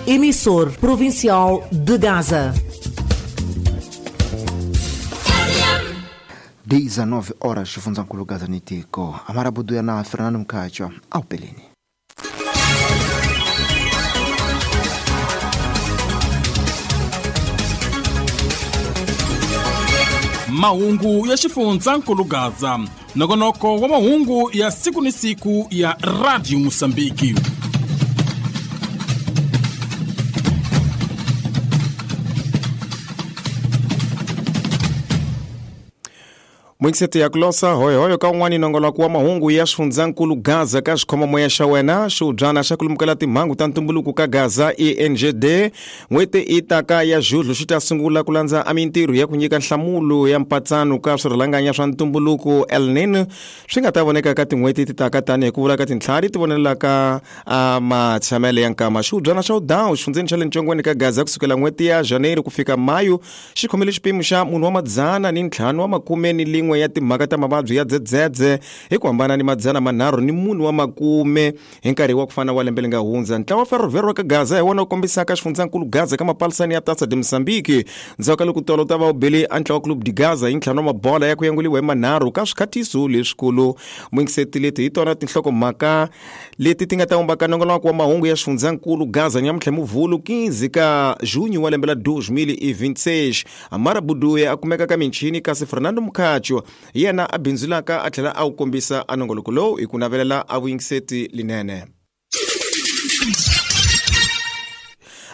Emissor provincial de Gaza. 19 horas xifundzankulu Gaza ni tiko amarabudu ya na Fernando Mkachwa au peleni. Mahungu ya xifundzankulu Gaza, nongonoko wa mahungu ya siku ni siku ya Radio Mosambiki. Mwinkisete ya kulosa hoyohoyo ka un'wani nongoloko wa mahungu ya xifundzankulu Gaza ka xikhomomoya xa wena xiubyana xa ku lumukela timhangu ta ntumbuluko ka Gaza ENGD n'hweti i taka ya Julho xi ta sungula ku landza a mintirho ya ku nyika nhlamulo ya mpatsano ka swirhalanganya swa ntumbuluko El Nino swi nga ta voneka ka tin'hweti ti taka tanihi ku vula ka tintlhari ti vonelaka a matshamele ya nkama. Xiubyana xa udawu xifundzeni xa le ncongweni ka Gaza kusukela n'hweti ya Janeiro ku fika Mayu xi khomile xipimo xa munhu wa 551 ya timhaka ta mavabyi ya dzedzedze hi ku hambana ni 340 hi nkarhi wa ku fana wa lembe leri nga hundza. Ntlawa wa Ferroviário ka Gaza hi wona wu kombisaka xifundzankulu Gaza ka mapalisani ya Taça de Moçambique ndzhaku ka loko tolo ta va wu bele a ntlawa Clube de Gaza hi ntlhanu wa mabola ya ku yanguliwa hi manharhu ka swikhatiso leswikulu. Mwingiseti leti hi tona tinhlokomhaka leti ti nga ta vumbaka nongonoko wa mahungu ya xifundzankulu Gaza nyamuntlha Muvhulu 15 ka Junho wa lembe la 2026. Amara Buduya a kumeka ka michini kasi Fernando Mkhacho yena a bindzulaka a tlhela a wu kombisa a nongoloko lowu hi ku navelela a vuyingiseti linene.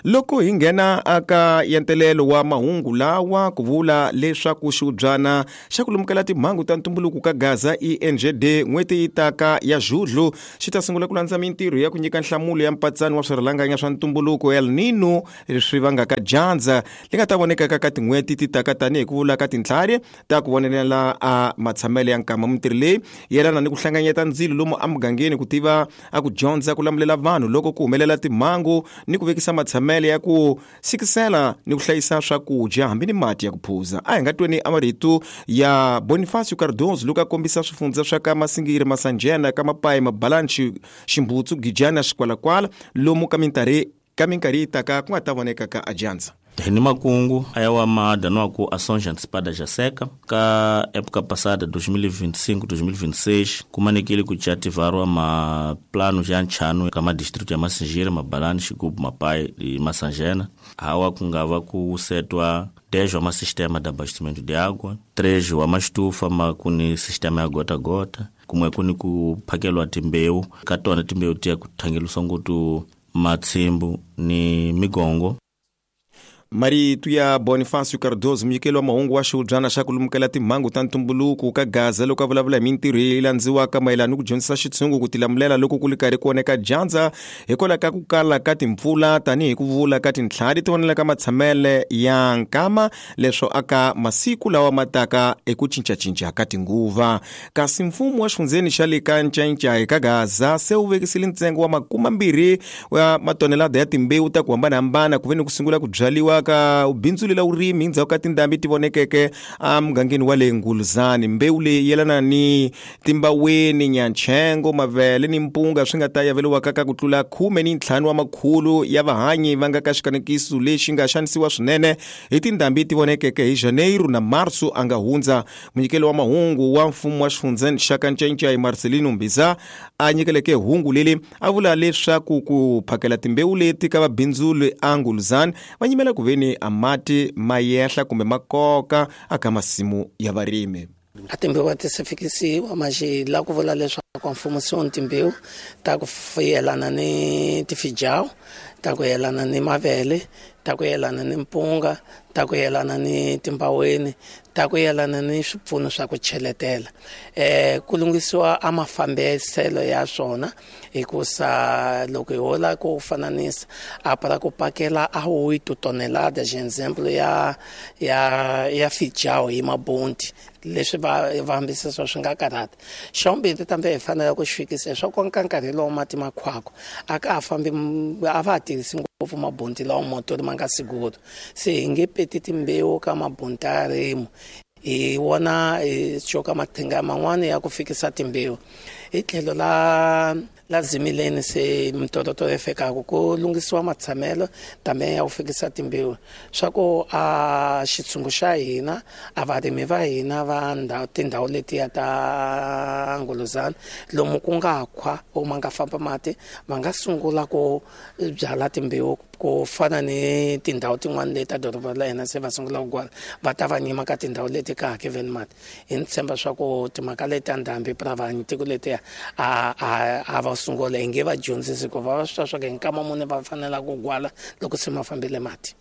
Loko hi nghena aka yentelelo wa mahungu lawa ku vula leswaku xiubyana xa ku lumukela timhangu ta ntumbuluko ka Gaza ENGD n'hweti yi taka ya Julho xi ta sungula ku landza mintirho ya ku nyika nhlamulo ya mpatsano wa swirhalanganya swa ntumbuluko El Nino leswi vangaka dyandza li nga ta vonekaka ka tin'hweti ti taka tanihi ku vula ka tintlhari ta ku vonelela a matshamelo ya nkama. Mintirho leyi yelana ni ku hlanganyeta ndzilo lomu emugangeni ku tiva a ku dyondza ku lamulela vanhu loko ku humelela timhangu ni ku vekisa matshamelo ya ku sikisela ni ku hlayisa swakudya hambi ni mati ya ku phuza. A hi nga tweni a marito ya Bonifacio Cardozo loko a kombisa swifundza swa ka Masingiri, Masanjena, ka Mapayi, Mabalanchi, Ximbutsu, Gijana, Xikwalakwala lomu ka minkarhi yi taka ku nga ta voneka ka adyandza. Hi ni makungu aya wa mada no ku ações antecipadas já seca ka época passada 2025 2026 kumanekile ku ativarwa ma plano já nchano ka ma distrito ya Massingir, Mabalani, Xigubu, Mapai e Massangena hawa kungava ku setwa 10 wa ma sistema de abastecimento de água, 3 wa ma estufa ma kuni sistema ya gota gota kumwe kuni ku phakelwa timbewu ka tona timbewu tiya ku thangeliswa ngopfu matshimbu ni migongo. Marito ya Bonifacio Cardozo munyikeli wa mahungu wa xiubyana xa ku lumukela timhangu ta ntumbuluko ka Gaza loko a vulavula hi mintirho leyi landziwaka mayelana ni ku dyondzisa xitshungu ku tilamulela loko ku ri karhi ku oneka dyandza hikwalaho ka ku kala ka timpfula tanihi ku vula ka tintlhari ti vonela ka matshamele ya nkama leswo aka masiku lawa ma taka eku cincacinca ka tinguva. Kasi mfumo wa xifundzeni xa le ka Ncayicayi ka Gaza se wu vekisile ntsengo wa 20 wa matonelada ya timbewu ta ku hambanahambana ku ve ni ku sungula ku byaliwa ka bindzu la vurimi endzhaku ka tindhambi ti vonekeke emugangeni wa le Nguluzani. Mbewu leyi yelana ni timbaweni, nyanchengo, mavele ni mpunga swi nga ta yaveliwaka ka ku tlula 15 wa makhulu ya vahanyi va nga ka xikanekiso lexi nga xanisiwa swinene hi tindhambi ti vonekeke hi Janeiro na Marso a nga hundza. Munyikeli wa mahungu wa mfumo wa xifundzeni xa ka Ncayicayi Marcelino Mbiza a nyikeleke hungu leli a vula leswaku ku phakela timbewu leti ka vabindzuli a Nguluzani va nyimela ku veni a mati ma yehla kumbe makoka aka masimu ya varimi. A timbewu ti se fikisiwa manjhe la ku vula leswaku mfumo se wu ni timbewu ta ku yelana ni tifijawu, ta ku yelana ni mavele, ta ku yelana ni mpunga, ta ku yelana ni timbaweni, ta ku yelana ni swipfuno swa ku cheletela. Ku lunghisiwa a mafambiselo ya swona hikusa loko hi hola ku fananisa a para ku pakela a 8 toneladas example ya fijawu hi mabonti leswi va hambisisa swi nga karhata. Xa vumbirhi tambe hi fanele ku xi fikisa leswaku ka nkarhi lowu mati ma khwako a ka ha fambi a va ha tirhisi ngopfu mabonti lawa motori ma nga siguro se hi nge peti timbewu ka mabonti ya rimu hi wona hi coka mathinga man'wani ya ku fikisa timbewu. Hi tlhelo la Zimileni se mitototo yi fikaka ku lunghisiwa matshamelo tame ya ku fikisa timbewu swa ku a xitshungu xa hina a varimi va hina va tindhawu letiya ta Nguluzana lomu ku nga khwa o ma nga famba mati va nga sungula ku byala timbewu ku fana ni tindhawu tin'wana leti ta doroba la hina se va sungula ku gwala va ta va nyima ka tindhawu leti ka hakeveni mati. Hi ni tshemba swa ku timhaka leti ta ndhambi pravani tiko letiya a va sungula hi nge va dyondzisi ku va swi twa swa ku hi nkama muni va fanela ku gwala loko se ma fambile mati.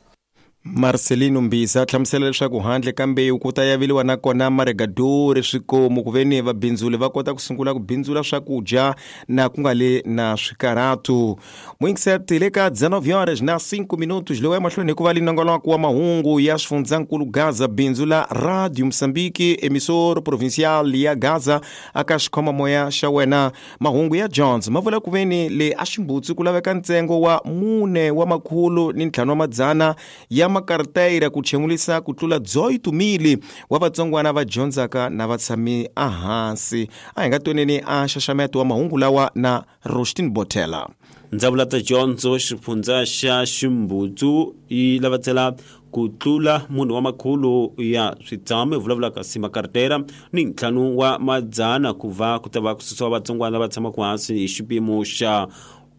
Marcelino Mbisa hlamusela leswaku handle ka mbewu ku ta yaveliwa na kona maregadori swikomu ku veni vabindzuli va kota ku sungula ku bindzula swakudya na ku nga le na swikarhatu. Muingiseti le ka 19:05 lowu emahlweni hikuva linongoloko wa mahungu ya xifundzankulu Gaza bindzu la Radio Mozambique emissor provincial ya Gaza aka xikhomamoya xa wena. Mahungu ya Jones ma vula ku veni le a Ximbutsi ku laveka ntsengo wa 4 wa makhulu ni 5 wa madzana ya makartayira ku chemulisa ku tlula 18,000 wa vatsongwana va dyondzaka na vatshami ehansi. A hi nga twaneni a xaxameto wa mahungu lawa na Rostin Botela. Ndzawulo ta dyondzo xifundza xa Ximbutsu yi lavatsela ku tlula munhu wa makhulu ya switshamo hi vulavulaka si makartera ni 5 wa madzana ku va ku ta va ku susiwa vatsongwana lava tshamaka hansi hi xipimo xa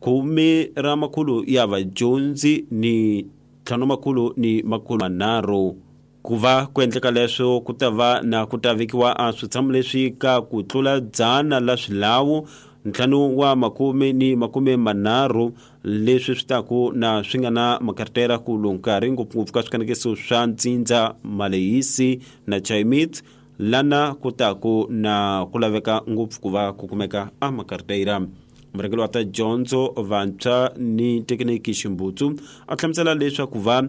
10 ra makhulu ya vadyondzi ni 5 makhulu ni makhulu manharhu. Ku va ku endleka leswo ku ta va na ku ta vekiwa a switshamo leswi ka ku tlula 100 la swilawu 5 wa makume ni makume manharhu leswi swi taku na swi nga na makartera ku nkarhi ngopfungopfu ka swikanekiso swa Ntsindza, Malehisi na Chaimit lana ku taku na ku laveka ngopfu ku va ku kumeka a makartera. Murhangeri wa ta dyondzo vantshwa ni thekiniki Ximbutsu a hlamusela leswaku va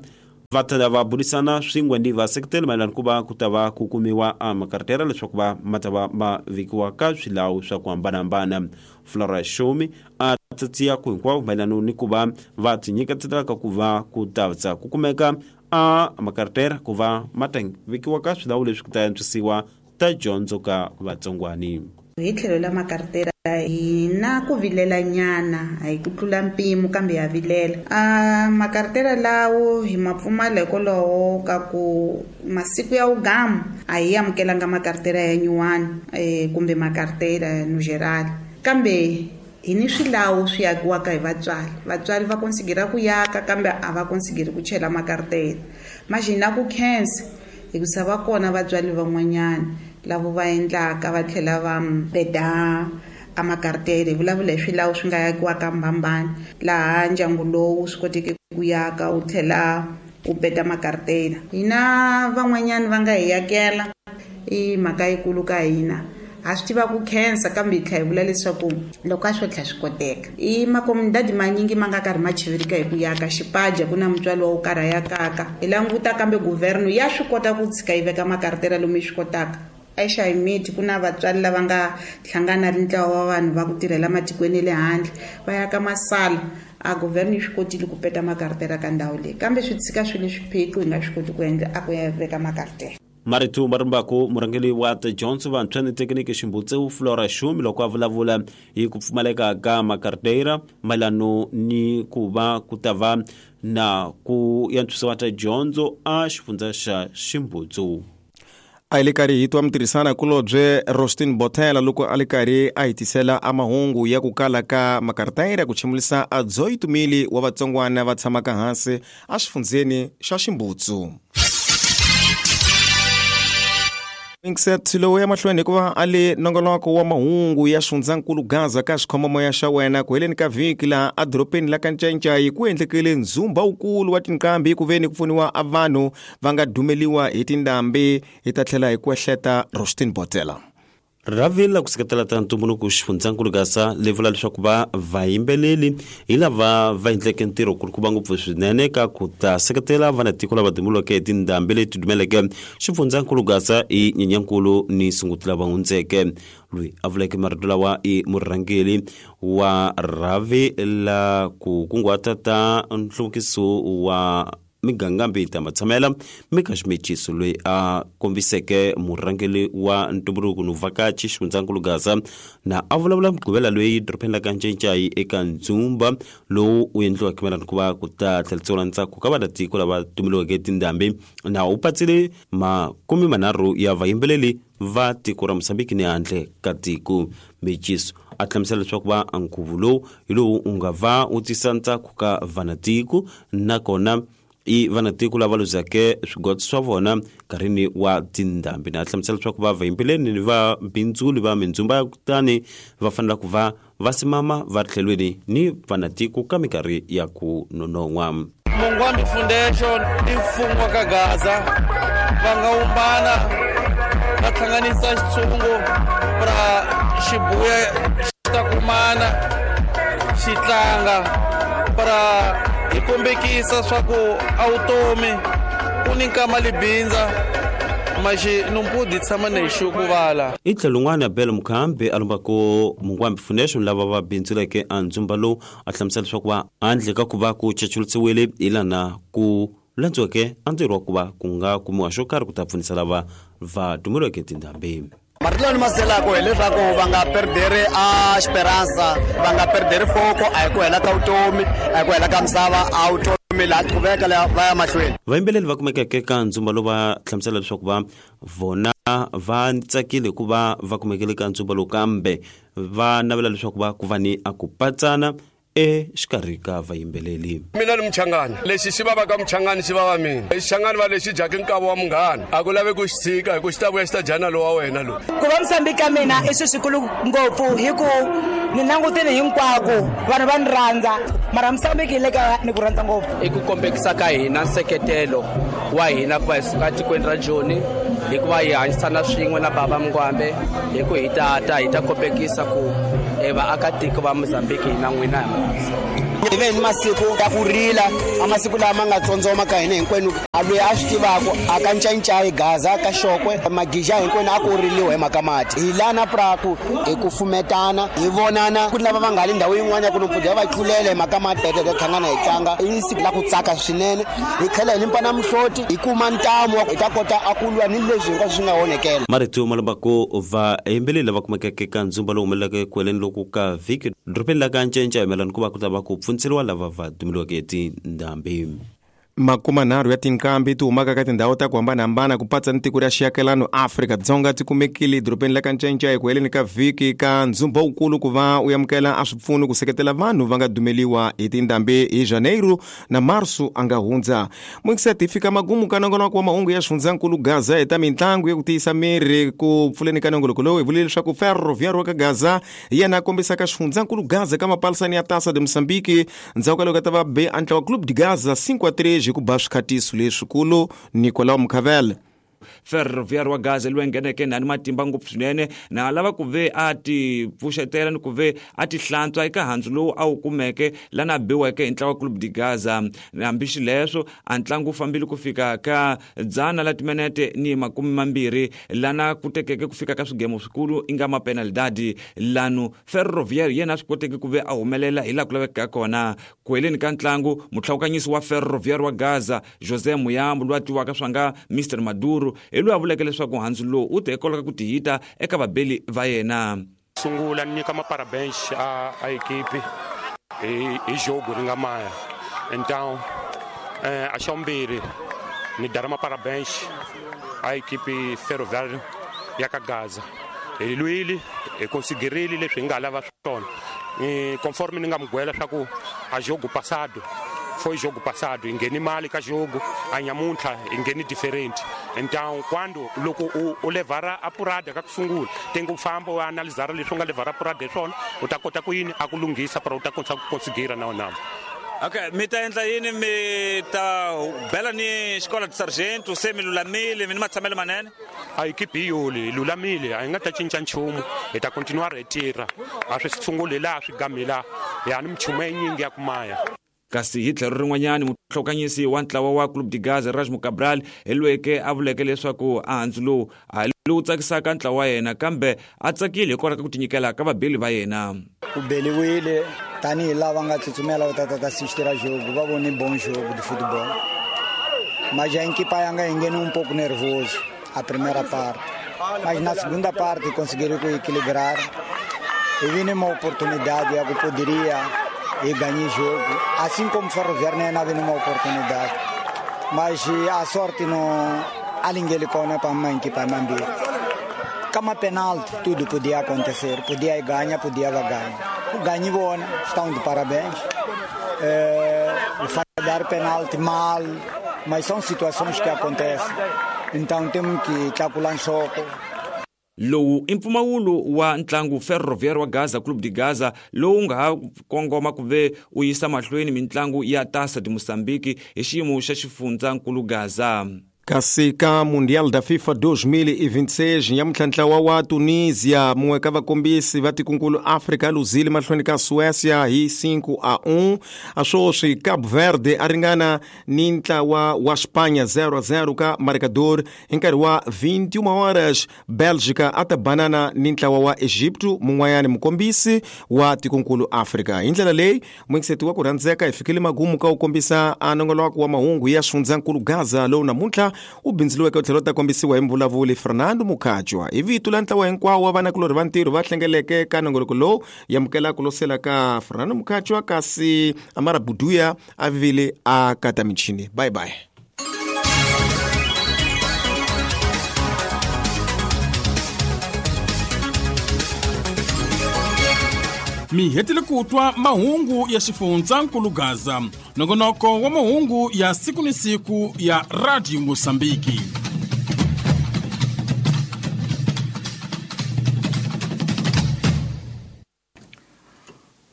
ta va burisana swin'we ni vaseketeli mayelana ku va ku ta va ku kumiwa a makartera leswaku va ma ta va ma vekiwa ka swilawu swa ku hambanahambana. Flora Shumi a tsatsiya ku hinkwavo mayelana ni ku va va tinyiketelaka ku va ku ta ku kumeka a makartera ku va ma ta vekiwa ka swilawu leswi ku ta antswisiwa ta dyondzo ka vatsongwani. Hi tlhelo la makartera hi na ku vilela nyana a hi ku tlula mpimo kambe ya vilela. A makartera lawo hi ma pfumala hikwalaho ka ku masiku ya wugamu a hi amukelanga makartera ya nyuwani kumbe makartera no geral, kambe hi ni swilawu swi yakiwaka hi vatswari. Vatswari va konsigera ku yaka kambe a va konsigeri ku chela makartera. Maxi na ku khensa hikusa va kona vatswari van'wanyana lavo va endlaka va tlhela va beda a makartere. Hi vulavula hi swilawu swi nga yakiwaka mbambani laha ndyangu lowu swi koteke ku yaka wu tlhela wu beda makartera. Hina van'wanyana va nga hi yakela i mhaka yikulu ka hina. Ha swi tiva ku khensa kambe hi tlhela hi vula leswaku loko a swo tlhela swi koteka. I makomundadi manyingi ma nga karhi ma chivirika hi ku yaka xipaja ku na mutswari wa wo karhi a yakaka. Hi languta kambe guvherno ya swi kota ku tshika yi veka makartera lomu yi swi kotaka. Exahimiti ku na vatswari lava nga hlangana ri ntlawa wa vanhu va ku tirhela matikweni ya le handle va yaka masala. A guvherno yi swi kotile ku peta makartera ka ndhawu leyi kambe swi tshika swi le swiphiqo hi nga swi koti ku endla a ku ya veka makartera. Marito Marimbako murhangeri wa ta dyondzo vantshwa ni thekiniki Ximbutsu Flora Shumi loko a vulavula hi ku pfumaleka ka makartera mayelana ni ku va ku ta va na ku antswisiwa ta dyondzo a xifundza xa Ximbutsu. A hi le karhi hi twa mitirhisana kulobye Rostin Botela loko a le karhi a hi tisela a mahungu ya ku kala ka makartayira ku chimulisa a 18,000 wa vatsongwana va tshamaka hansi a xifundzeni xa Ximbutsu. Inset lowu ya mahlweni hikuva a le nongonoko wa mahungu ya xifundzankulu Gaza ka xikhomamoya xa wena ku heleni ka vhiki laha edorobeni la ka Ncayicayi ku endlekile ndzumba wukulu wa tinqambi ku veni ku pfuniwa a vanhu va nga dumeliwa hi tindhambi. Hi ta tlhela hi ku ehleta Rostin Botela. Rhavi la ku seketela ta ntumbuluko xifundzankulu Gaza li vula leswaku va vayimbeleli hi lava va endleke ntirho kulukumba ngopfu swinene ka ku ta seketela vanatiko lava dumuleke hi tindhambi leti dumeleke xifundzankulu Gaza hi Nyenyankulu ni Sunguti lava hundzeke. Loyi a vuleke marito lawa i murhangeri wa rhavi la ku kunguhata ta nhluvukiso wa miganga mbita matshamela Mika Ximechiso loyi a kombiseke murhangeri wa ntumbuluko no vhakachi xifundzankulu Gaza na a vulavula mugqivela loyi dorobeni la ka Ncencai eka ndzumba lowu wu endliwaka mayelana ku va ku ta tlheriseriwa ntsako ka vanatiko lava tumeliweke tindhambi na wu patsile 30 ya vayimbeleri va tiko ra Mozambique ni handle ka tiko. Mechiso a hlamusela leswaku va nkhuvo lowu hi lowu wu nga va wu tisa ntsako ka vanatiko nakona i vanatiko lava luzeke swigoto swa vona nkarhini wa tindhambi na hlamusela leswaku va vayimbeleri ni va bindzuli va mindzumba ya kutani va fanela ku va va simama va ri tlhelweni ni vanatiko ka minkarhi ya ku nonon'hwa. Mungwambi Foundation i mfumo wa ka Gaza va nga umbana va hlanganisa xitshungu ra xibuya xi ta kumana xi tlanga para hi kombekisa swa ku a vutomi ku ni nkama libindza maxi numpudi tshama na hi vala. I tlhelo un'wana Abel Mukhambi a lombako Mungwambi Foundation lava va bindzuleke a ndzumba lowu a hlamusela leswaku va handle ka ku va ku chachulisiwile hi lana ku landziweke a ntirho wa ku va ku nga kumiwa xo karhi ku ta pfunisa lava va tumeliweke tindhambi. Marito lawa ni ma selaka hileswaku va nga perderi a xiperansa, va nga perderi foko, a hi ku hela ka vutomi, a hi ku hela ka misava, a vutomi laha qhuveka laha va ya mahlweni. Vayimbeleri va kumekeke ka ndzumba lowu va hlamusela leswaku va vona va tsakile ku va va kumekele ka ndzumba lowu kambe va navela leswaku va ku va ni a ku patsana exikarhi ka vayimbeleri. Mina ni Muchangani, lexi xi vavaka Muchangani xi vava mina. Xichangani va lexi dyaka nkava wa munghana a ku lavi ku xi tshika hi ku xi ta vuya xi ta dya na lowa wena lowu. Ku va Mozambique ka mina i swilo swikulu ngopfu hi ku ni langutile hinkwako vanhu va ni rhandza mara Mozambique hi le ka ni ku rhandza ngopfu. I ku kombekisa ka hina nseketelo wa hina ku va hi suka tikweni ra Joni hikuva hi hanyisana swin'we na baba Mungwambe hi ku hi tata hi ta kombekisa ku vaakatiko va Mozambique hina n'wina hi Hi ve ni masiku ya ku rila a masiku lama nga tsondzoma ka hina hinkwenu a loyi a swi tivaka a ka Ncancai Gaza ka Xokwe Magija hinkwenu a ku riliwa hi mhaka mati. Hi lana praku hi ku fumetana hi vonana ku lava va nga le ndhawu yin'wana ya ku nompfudza va tlulela hi mhaka mati hi hlangana hi tlanga i siku la ku tsaka swinene hi tlhela hi limpana mihloti hi kuma ntamu hi ta kota a ku lwa ni leswi hinkwaswo swi nga onhekela. Marito ma lombako vayimbeleri lava kumekeke ka ndzumba lowu humelelaka eku heleni loku ka vhiki dorobeni la ka Ncencai mayelana ku va ku ta va ku pfunisiwa lava va tumeliweke tindhambi. 30 ya tinqambi ti humaka ka tindhawu ta ku hambanahambana ku patsa ni tiko ra xiakelano Afrika-Dzonga ti kumekile edorobeni la ka Ncencai eku heleni ka vhiki ka ndzumba wukulu ku va u amukela a swipfuno ku seketela vanhu va nga dumeliwa hi tindhambi hi Janeiro na Marso a nga hundza. Muyingiseti hi fika magumu ka nongonoko wa mahungu ya xifundzankulu Gaza hi ta mitlangu ya ku tiyisa miri ku pfuleni ka nongoloko lowu hi vulile leswaku Ferroviário wa ka Gaza hi yena a kombisaka xifundzankulu Gaza ka mapalisani ya Taça de Moçambique ndzhaku ka loko a ta va be a ntlawa Clube de Gaza 5-3 hi ku ba swikhatiso leswikulu Nicolau Mukhavela. Ferroviário wa Gaza loyi ngheneke na ni matimba ngopfu swinene na lava ku ve a ti pfuxetela ni ku ve a ti hlantswa eka handzu lowu a wu kumeke lana biweke hi ntlawa Clube de Gaza. Hambi xileswo a ntlangu wu fambile ku fika ka 120 lana ku tekeke ku fika ka swigemo swikulu i nga mapenalidadi lanu Ferroviário yena a swi koteke ku ve a humelela hi laha ku lavekaka kona. Ku heleni ka ntlangu mutlhawukanyisi wa Ferroviário wa Gaza José Muyambo loyi a tiviwaka swa nga Mr Maduro hi loyi a vuleke leswaku handzu lowu wu te hikwalaho ka ku tihita eka vabeli va yena. Sungula ni nyika maparabéns a equipe hi jogo ri nga maya. Então a xa vumbirhi ni dara maparabéns a equipe Ferroviário ya ka Gaza. Hi lwile hi considerile leswi hi nga lava swona. Conforme ni nga mugwela swa ku a jogo passado foi jogo passado hi ngheni mali ka jogo a nyamuntlha hi ngheni different. Então quando loko u levara apurada ka ku sungula tenge u famba u analizara leswi u nga levara apurada hi swona u ta kota ku yini a ku lunghisa para u ta kota ku consigira na wona. Okay, mi ta endla yini mi ta bela ni xikolo de sargento se mi lulamile mi ni matshamelo manene? A equipe hi yoli hi lulamile a hi nga ta cinca nchumu hi ta continuar hi tirha a swi sunguli laha swi gami laha ya ni minchumu yinyingi ya ku maya. Kasi hi tlhelo rin'wanyani mutlhokanyisi wa ntlawa wa Clube de Gaza Rajmo Cabral hi lweke a vuleke leswaku a handzu lowu a lowu tsakisaka ntlawa wa yena kambe a tsakile hikwalaho ka ku tinyikela ka vabeli va yena. U beliwile tanihi lava nga tsutsumela va tata ta assistira jogo va vone bon jogo de football. Mas a equipa ainda enganou pouco nervoso a primeira parte. Mas na segunda parte conseguiram equilibrar. E vi uma oportunidade, eu poderia e ganhar jogo. Assim como o Ferroviário não havia uma oportunidade. Mas a sorte não alinguelicou para a mãe que para a mãe. Como penalti, tudo podia acontecer. Podia ganhar, podia ganhar. Ganhou, bom, estão de parabéns. Falhar penalti mal, mas são situações que acontecem. Então temos que calcular um choque. Lowu i mpfumawulo wa ntlangu Ferroviário wa Gaza Clube de Gaza lowu nga ha kongoma ku ve u yisa mahlweni mintlangu ya Taça de Moçambique hi xiyimo xa xifundzankulu Gaza. Kasi ka Mundial da FIFA 2026 nyamuntlha ntlawa wa Tunisia mun'we ka vakombisi va tikunkulu Afrika luzile mahlweni ka Suécia hi 5-1. A swoswi Cabo Verde a ringana ni ntlawa wa Espanha 0-0 ka marcador hi nkarhi wa 21 horas. Bélgica a ta banana ni ntlawa wa Egipto mun'wanyani mukombisi wa tikunkulu Afrika. Hi ndlela leyi muyingiseti wa ku rhandzeka hi fikile magumu ka ku kombisa a nongoloko wa mahungu ya xifundzankulu Gaza lowu namuntlha u bindziliweke u tlhela u ta kombisiwa hi mvulavuli Fernando Mukhajwa. Hi vito la ntlawa hinkwawo wa vanakulorhi va ntirho va hlengeleke ka nongoloko lowu yamukela ku losela ka Fernando Mukhajwa, kasi Amara Buduya a vile a kata michini. Bye bye. Mi hetile ku twa mahungu ya xifundzankulu Gaza, nongonoko wa mahungu ya siku ni siku ya Radio Mosambiki.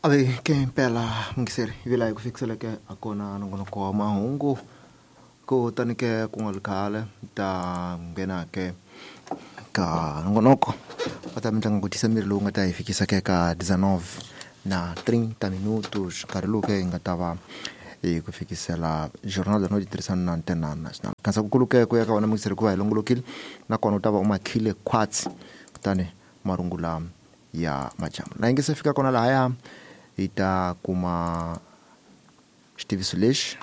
Ave ke impela mungiseri vila hi ku fikiseleke a kona nongonoko wa mahungu ku tani ke ku nga ri khale ta nghena ke ka nongonoko wa ta mitlangu ku tisa miri lowu nga ta hi fikisa ke ka 19:30 minutos, nkarhi lowu ke hi nga ta va hi ku fikisela Jornal da Noite tirhisana na Antena Nacional. Khansa ku kuluke ku ya ka wena mungiseri ku va hi longolokile, nakona u ta va u makhile khwatsi kutani marungula ya madyambu na yi nge se fika kona lahaya hi ta kuma xitiviso lexi.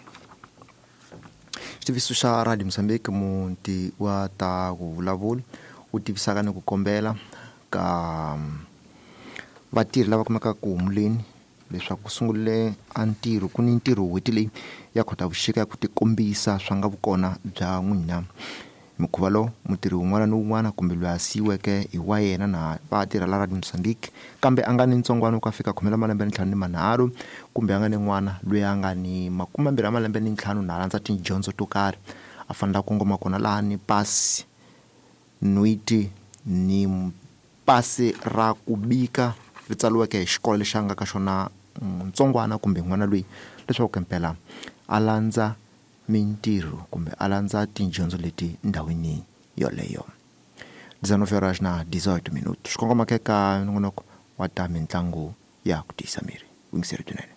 Xitiviso xa Radio Mozambique muti wa ta ku vulavula u tivisaka ni ku kombela ka vatirhi lava kumekaka ku humuleni leswaku ku sungule a ntirho ku ni ntirho n'hweti leyi ya Khotavuxika ya ku tikombisa swa nga vukona bya n'wina. Mukhuva lowu mutirhi wun'wana ni wun'wana kumbe loyi a siyiweke hi wa yena na va tirha la Radio Mozambique kambe a nga ni ntsongwana ku a fika 25 kumbe a nga ni n'wana loyi a nga ni 25 na landza tidyondzo to karhi a fanele a kongoma kona laha ni pasi nwiti ni pasi ra ku bika ri tsariweke hi xikolo lexi a nga ka xona ntsongwana kumbe n'wana loyi leswaku mpela a landza mintirho kumbe a landza tidyondzo leti ndhawini yoleyo. 19:18 swi kongoma ke ka nongonoko wa ta mitlangu ya ku tiyisa miri. Yingiseri swinene.